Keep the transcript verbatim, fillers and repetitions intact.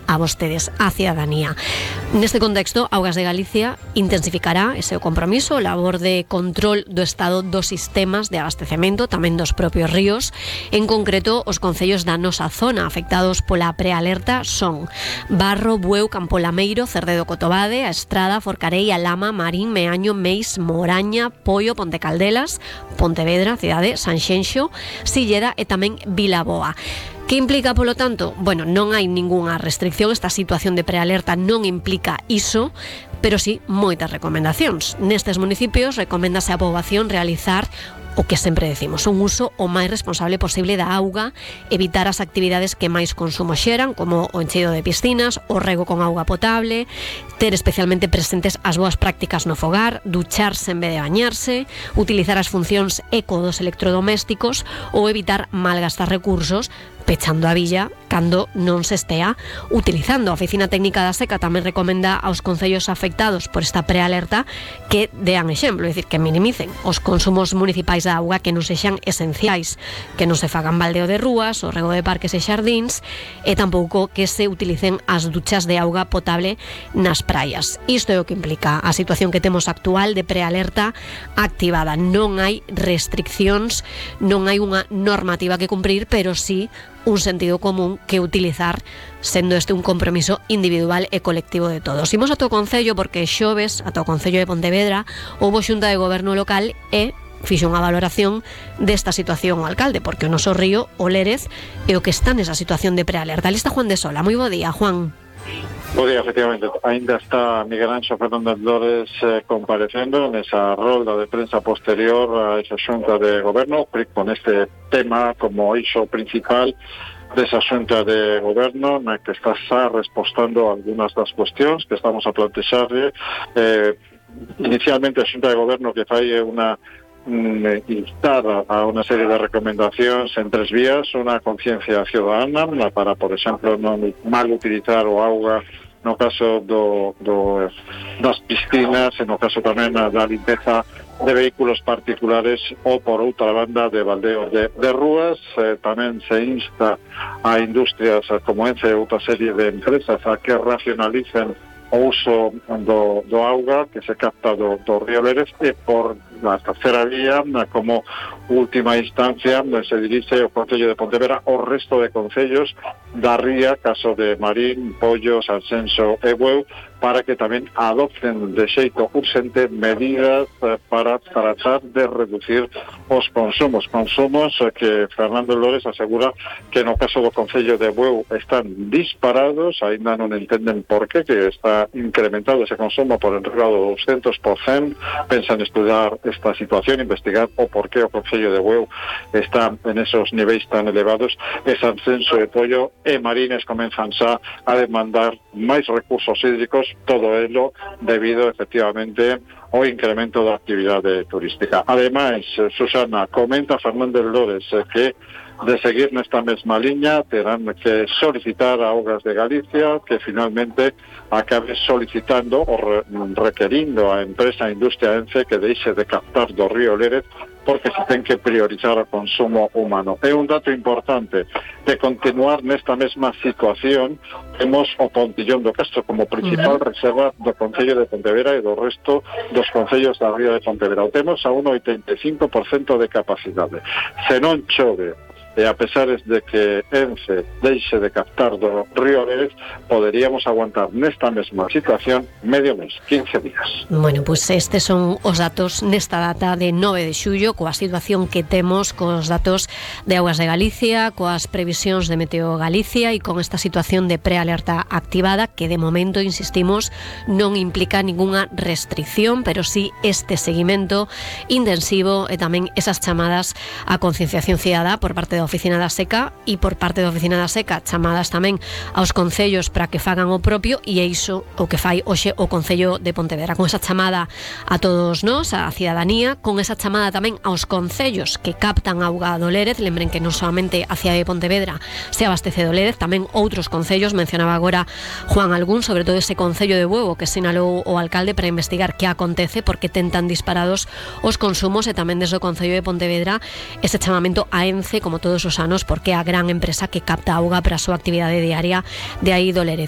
a vostedes, a cidadanía. Neste contexto, Augas de Galicia intensificará ese compromiso, labor de control do estado dos sistemas de abastecemento, tamén dos propios ríos. En concreto, os concellos da nosa zona afectados pola prealerta son Barro, Bueu, Campolameiro, Cerdedo, Cotobade, A Estrada, Forcarei, Alama, Marín, Meaño, Meis, Moraña, Poio, Ponte Caldelas, Pontevedra, cidade, Sanxenxo, Silleda e tamén Vilaboa. Que implica, polo tanto? Bueno, non hai ningunha restricción, esta situación de prealerta non implica iso, pero sí moitas recomendacións. Nestes municipios recoméndase á poboación realizar o que sempre decimos, un uso o máis responsable posible da auga, evitar as actividades que máis consumo xeran, como o encheido de piscinas, o rego con auga potable, ter especialmente presentes as boas prácticas no fogar, ducharse en vez de bañarse, utilizar as funcións eco dos electrodomésticos ou evitar malgastar recursos pechando a villa cando non se estea utilizando. A Oficina Técnica da Seca tamén recomenda aos concellos afectados por esta prealerta que dean exemplo, é dicir, que minimicen os consumos municipais da auga que non sexan esenciais, que non se fagan baldeo de rúas, o rego de parques e xardíns, e tampouco que se utilicen as duchas de auga potable nas praias. Isto é o que implica a situación que temos actual de prealerta activada. Non hai restriccións, non hai unha normativa que cumprir, pero sí un sentido común que utilizar, sendo este un compromiso individual e colectivo de todos. Imos ata o Concello porque xoves, ata o Concello de Pontevedra, houbo xunta de goberno local e fixo unha valoración desta situación o alcalde, porque o noso río, o Lérez, é o que está nesa situación de prealerta. Ali está Juan de Sola. Moi bo día, Juan. Bo día, efectivamente. Ainda está Miguel Anxo Fernández Lores eh, comparecendo nesa rolda de prensa posterior a esa xunta de goberno, con este tema como eixo principal desa xunta de goberno, na que está xa respostando algunhas das cuestións que estamos a plantexarle. Eh, inicialmente a xunta de goberno que fai unha instar a unha serie de recomendacións en tres vías: unha conciencia ciudadana para, por exemplo, non mal utilizar o auga no caso do, do, das piscinas, e no caso tamén da limpeza de vehículos particulares, ou por outra banda de baldeo de, de rúas. Eh, tamén se insta a industrias como Ence e outra serie de empresas a que racionalicen o uso do, do auga que se capta do, do río Lérez, e por la tercera vía, como última instancia, se dirixe o Concello de Pontevedra ao resto de concellos da ría, caso de Marín, Pollo, Sanxenxo e Bueu, para que tamén adopten de xeito urxente medidas para tratar de reducir os consumos. Consumos que Fernando Lores asegura que no caso do Concello de Bueu están disparados, aínda non entenden por qué, que está incrementado ese consumo por enriba do doscientos por cento. Pensan estudar esta situación, investigar o por qué o Concello de Bueu está en esos niveis tan elevados. E Sanxenxo e Pollo e Marines comenzan xa a demandar máis recursos hídricos, todo ello debido efectivamente ao incremento da actividade turística. Ademais, Susana, comenta Fernández Lores que de seguir nesta mesma liña terán que solicitar a Augas de Galicia que finalmente acabe solicitando ou re requerindo a empresa a industria Ence que deixe de captar do río Lérez, porque se ten que priorizar o consumo humano. É un dato importante: de continuar nesta mesma situación, temos o Pontillón do Castro como principal reserva do Concello de Pontevedra e do resto dos concellos da ría de Pontevedra. O temos a un oitenta e cinco por cento de capacidade. Se non chove, e a pesar de que Ence deixe de captar do río Lérez, poderíamos aguantar nesta mesma situación medio mes, quince días. Bueno, pois pues estes son os datos nesta data de nove de xullo, coa situación que temos, cos datos de Augas de Galicia, coas previsións de Meteo Galicia e con esta situación de prealerta activada que de momento, insistimos, non implica ningunha restricción, pero sí este seguimento intensivo e tamén esas chamadas a concienciación cidadá por parte da Oficina da Seca e por parte da Oficina da Seca chamadas tamén aos concellos para que fagan o propio, e é iso o que fai hoxe o Concello de Pontevedra, con esa chamada a todos nós, a cidadanía, con esa chamada tamén aos concellos que captan auga do Lérez. Lembren que non solamente a cidade de Pontevedra se abastece do Lérez, tamén outros concellos. Mencionaba agora Juan algún, sobre todo ese Concello de Bueu que sinalou o alcalde para investigar que acontece, porque ten tan disparados os consumos, e tamén desde o Concello de Pontevedra ese chamamento a Ence, como todos os anos, porque é a gran empresa que capta auga para a súa actividade diaria de aí do Lérez.